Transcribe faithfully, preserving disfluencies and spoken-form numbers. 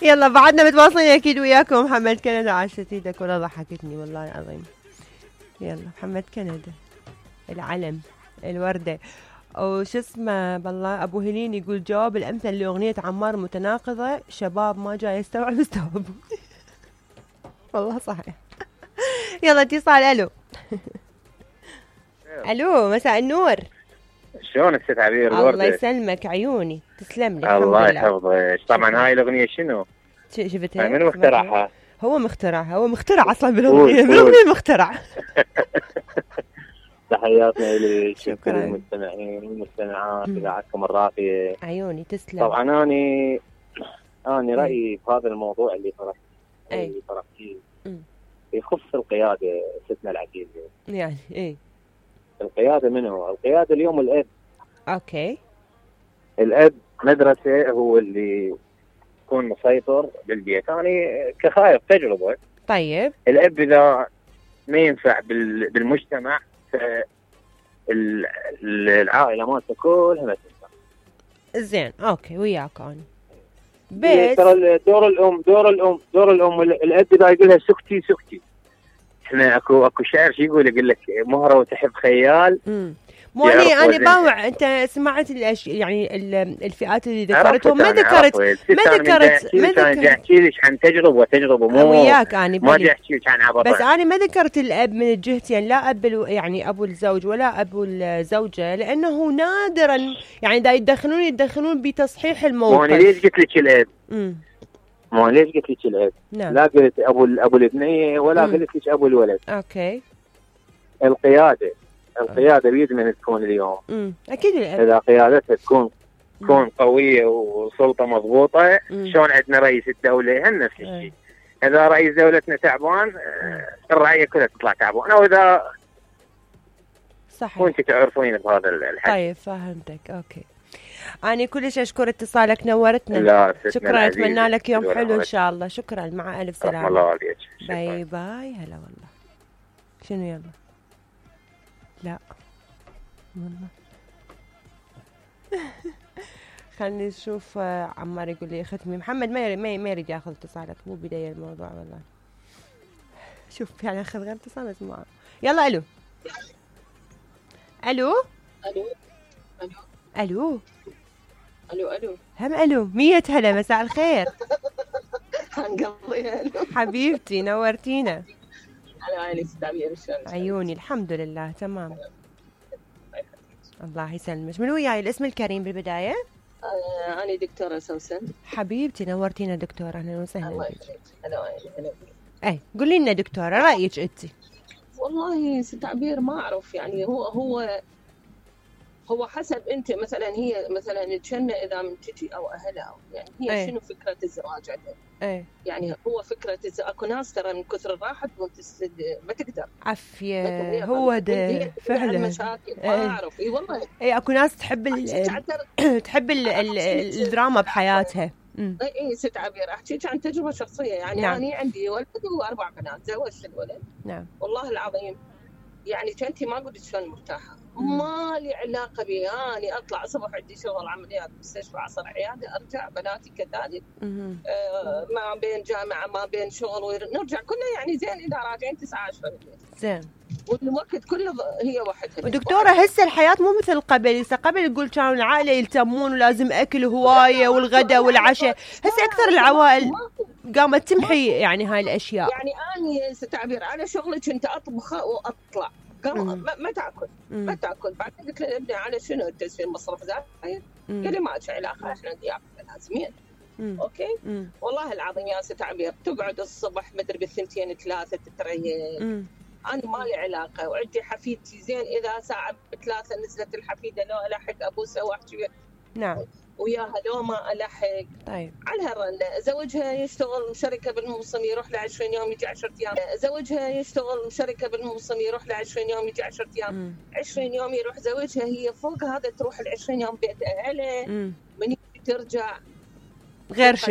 يلا بعدنا متواصلين اكيد وياكم. محمد كندا عاشت ايدك ولا ضحكتني والله العظيم. يلا محمد كندا العلم الوردة. وش اسمه بالله ابو هلين يقول جواب الامثل لاغنية عمار متناقضة، شباب ما جاي يستوعب استوعب. والله صحيح. يلا اتصال. الو الو مساء النور. شلونك ست عبير الوردة؟ الله يسلمك عيوني تسلم لي. الله يحفظك. طبعا هاي الاغنية شنو؟ شفتها؟ من مخترعها؟ هو مخترعها، هو مخترع اصلا بالاغنية، بالاغنية مخترع. تحياتنا لي شكرا للمستمعين والمستمعات اذاعتكم الراقية. عيوني تسلم. طبعا اني اني رايي في هذا الموضوع اللي طرحت أي. اللي طرحتيه يخص القيادة ستنا العزيزة. يعني ايه القيادة منو؟ القيادة اليوم الاب. اوكي. الاب مدرسة، هو اللي يكون مسيطر بالبيت. يعني كخايف تجربة. طيب الاب اذا ما ينفع بالمجتمع فالعائلة مالته كلها ما تنفع. زين اوكي وياك انا. بس ترى دور الام دور الام دور الام الاب اذا يقول لها سكتي سكتي. احنا اكو اكو شاعر شو يقول يقول لك مهره وتحب خيال. امم مو اني انا باوع. انت سمعت الأش... يعني الفئات اللي ذكرتهم ما ذكرت ما ذكرت ما ذكرت احكي لك عن تجربه وتجربه مو وياك اني ما بدي احكي لك عن عبط. بس انا ما ذكرت الاب من الجهتين، لا اب يعني ابو الزوج ولا ابو الزوجه، لانه نادرا يعني دا يتدخلون يتدخلون بتصحيح الموقف. مو انا ليش قلت لك الاب؟ امم مو ليش قلت لك الاب؟ نعم. لا قلت ابو ابو الابنيه ولا مم. قلت لك ابو الولد. اوكي. القياده القياده بيد من تكون اليوم. امم اكيد الاب اذا قيادتها تكون تكون قويه وسلطه مضبوطه. شلون عندنا رئيس الدوله هم نفس الشيء. اذا رئيس دولتنا تعبان الرعيه كلها تطلع تعبانه. واذا صحيح وانت تعرفين بهذا الحكي. طيب فهمتك. اوكي. أنا كلش أشكر اتصالك نورتنا. لا شكرا أتمنى لك يوم حلو إن شاء الله. شكرا مع ألف سلامة. الله عليك. باي باي. هلا والله. شنو يلا لا والله. خلني نشوف. عمار يقول لي ختمي محمد ما ما ما يريد ياخذ اتصالك، مو بداية الموضوع والله. شوف يعني اخذ غير اتصال اسمعه. يلا الو الو الو الو الو الو هم الو. مية هلا مساء الخير. هنقضيها الو حبيبتي نورتينا. انا عيني ستعبير شلون عيوني الحمد لله تمام. الله يسلمك. من وياي الاسم الكريم بالبداية؟ آه أنا دكتورة سوسن. حبيبتي نورتينا دكتورة. أهلا وسهلا. الله يخليك. هلا هلا. أي قولي لنا دكتورة رأيك أنت. والله ستعبير ما أعرف يعني هو هو هو حسب أنت مثلا هي مثلا تشنى إذا من تجي أو أهلها أو يعني هي أي. شنو فكرة الزواج عندها؟ أي. يعني هو فكرة الزواج أكو ناس ترى من كثر الراحة ما تقدر. عافية هو ده فعلا. مشاكل ما أعرف. إي والله. إي أكو ناس تحب ال تحب ال الدراما بحياتها. اي اي ست عبير احكيك عن تجربه شخصيه يعني. نعم. انا عندي ولد واربع بنات. زوجت الولد. نعم. والله العظيم يعني كنتي ما قلت شلون مرتاحه. ما لي علاقه بي. اني اطلع الصبح عندي شغل عمليات مستشفى عصر عياده ارجع بناتي كذلك. آه ما بين جامعه ما بين شغل ونرجع كلنا يعني زين اذا راجعين تسعة عشرة بالليل. زين. والوقت كله هي وحدها. ودكتورة هسه الحياة مو مثل قبل. هسه قبل يقول كانوا العائلة يلتمون ولازم أكل هواية والغداء والعشاء. هسه أكثر العوائل قامت تمحي يعني هاي الأشياء. يعني أنا ستعبير على شغلي كنت أطبخ وأطلع قام ما, ما تاكل مم. ما تاكل. بعدين قلت له ابني على شنو التسويق مصرف زايد؟ قال لي ما له علاقه احنا ضياف لازمين. اوكي مم. والله العظيم يا ست عبير تقعد الصبح مدري بالثنتين ثلاثه تتريق. انا ما لي علاقه. وعندي حفيدتي زين اذا ساعه بثلاثه نزلت الحفيده لو الحق ابوسها واحكي. نعم. وياها لو ما الحق. طيب. على هالرنه زوجها يشتغل شركه بالموسم يروح له عشرين يوم يجي عشرة ايام. زوجها يشتغل شركه بالموسم يروح له عشرين يوم يجي عشرة ايام. مم. عشرين يوم يروح زوجها هي فوق هذا تروح ال عشرين يوم بيت اهلها. من ترجع غير شكل.